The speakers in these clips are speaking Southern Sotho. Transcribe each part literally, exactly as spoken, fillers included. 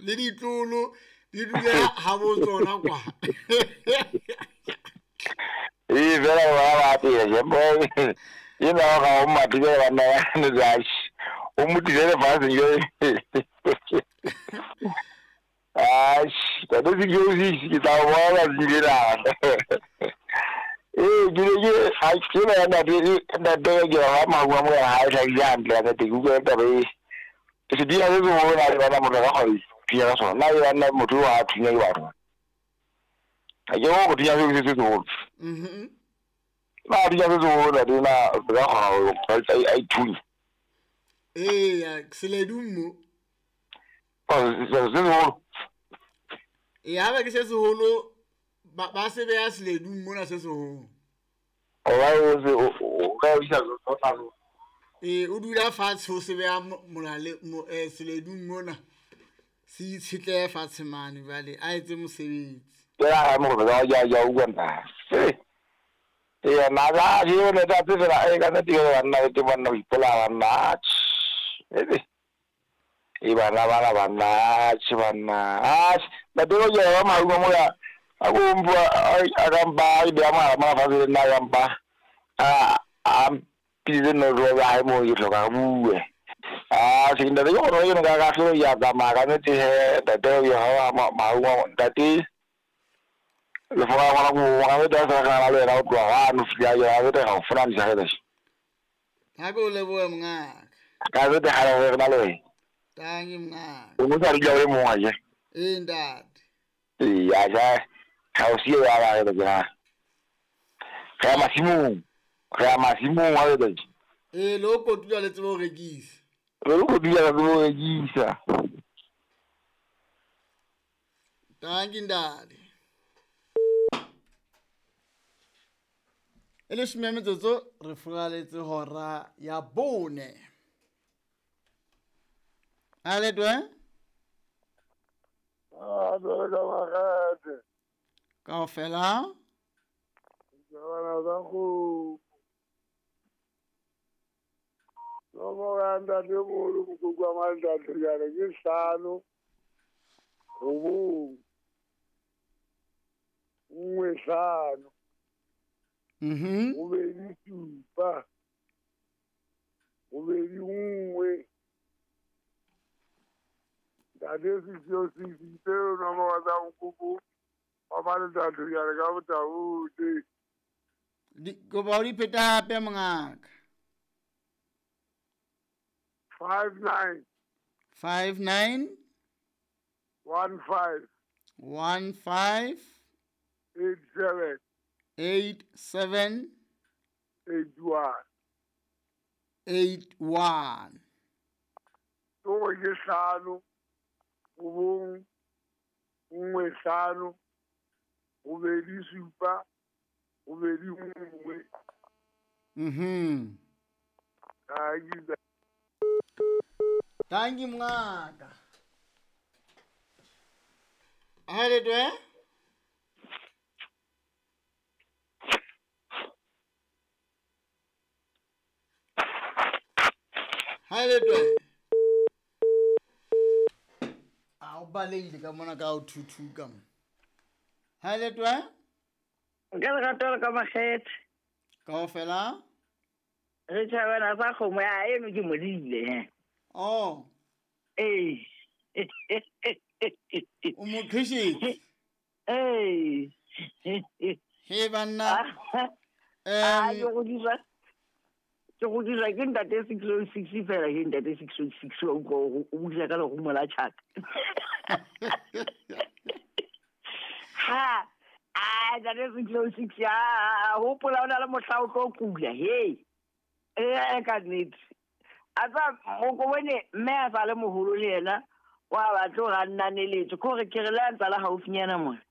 Le ditlolo di dule ha bo tsona kwa. Ee fela ba ba apea jembo e na ga o matile banna ba ne zash o motile lefatsheng jo. Ash, ka se ke o se ke tla bona dingela. Ee ke ne ke a ke na na na na ke ga ma mo ha e tla hantle ka teng utlwa taba e. Se di a se bona le bana motho ka go thunya ka sona. Na e bana motho wa thunya ke batho. A ke go thunya se se seholo. Mhm. Na thunya se seholo la dina ka go a ithunya. Ee, seledu mo. Se seholo. Ee, ha ke se seholo ba ba se beya seledu mona se seholo. O ba o se o ka isa tsona. Ee, o dula fatshe o se beya molale mo eh seledu mona. Se itshetlehe fatshe mane jwale a etse mosebetsi. Ke ra mo go ya ya utlwa nna. Ee, na ga ke yone tsa fela e ka nnete ke banna ke banna ho ipolaya banna. Ebe e bana bana banna tjhe banna. Ah, ba tlo ke ba marumo mo ya a go mpua a ka mpa e beya mogala mona fatshe le nna ya mpa. A a mpitse no ro ba hae mo ke hloka re bue. Ah, se ntate ke gore ke nka ka hlolo ya tsamaya ka nnete he ntate ya ha marumo ntate le fora ngwana go ga beta sa ga le wena o tloga ga no fia ya beta ga o fona di sa ge. Ha go lebohe mongaka. Ka beta ga re na le wena. Tangi mongaka. O mo sa re le mongwe je. Ee ntate. Ee ya ja ga o sie ya ba re ke ga masimong. Ga masimong wa beta. Ee lo kotula le tsebo rekisa. Lo kotula le tsebo rekisa. Tangi ntate. E leshome ya metsotso re furaletse hora ya bone. A le twe? Ah, jwale ka makgethe. Kaofela? Jabana tsa kgomo. Nomoro ya ntatemoholo mokoko wa mantate jwale ke hlano robong nngwe hlano. Mhm. Robedi supa. Robedi nngwe. Ntate six oh six tseo nomoro tsa mokoko wa mantate jwale ka botaote. Di kopa o di pheta hape mongaka. Five nine. Five nine. One five. One five. Eight seven. Eight seven. Eight one. Eight one. Toro ke hlano, robong, nngwe hlano, robedi supa, robedi nngwe. Mhm. Thank Thank you mongaka. Ha le twe? Ha le twe? A o baleile ka mona ka o thuthuka mo. Ha le twe? Ka lerato le ka makgethe. Kaofela? Re tjhabana sa kgomo ya eno ke modile he. Oh. Ee. O mo qhishitse? Ee. He banna. Ah, ke go dira. Ke go dira ke ntate six oh six fela ke ntate six oh six o utlwa o buisa ka lerumo la tjhaka. Ha, ah, ntate six oh six ya hopola o na le mohla o tlo kula he. Eh ka nnete. A tsa o ko bone mme a sa le moholo le yena wa batla go nnaneletso ke gore ke re le a ntsa la haufinyana mona.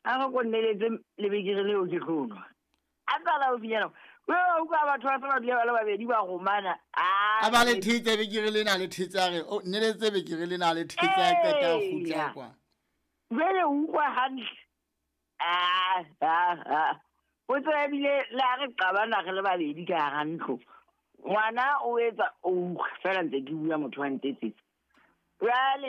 A re ko nneletse lebekere leo ke tlo nwa. A ntsa la haufinyana. O utlwa batho ba se ba dula ba le babedi ba romana. A ba le thetse bekere lena le thetse a re o nneletse bekere lena le thetse a qeta ho kgutla kwa. Jwale o utlwa hantle. Ah ah ah. O tseba ebile le ha re qabana re le babedi ka hara ntlo. Ngwana o etsa o fela ntse ke bua motho wa ntetsetsa. Jwale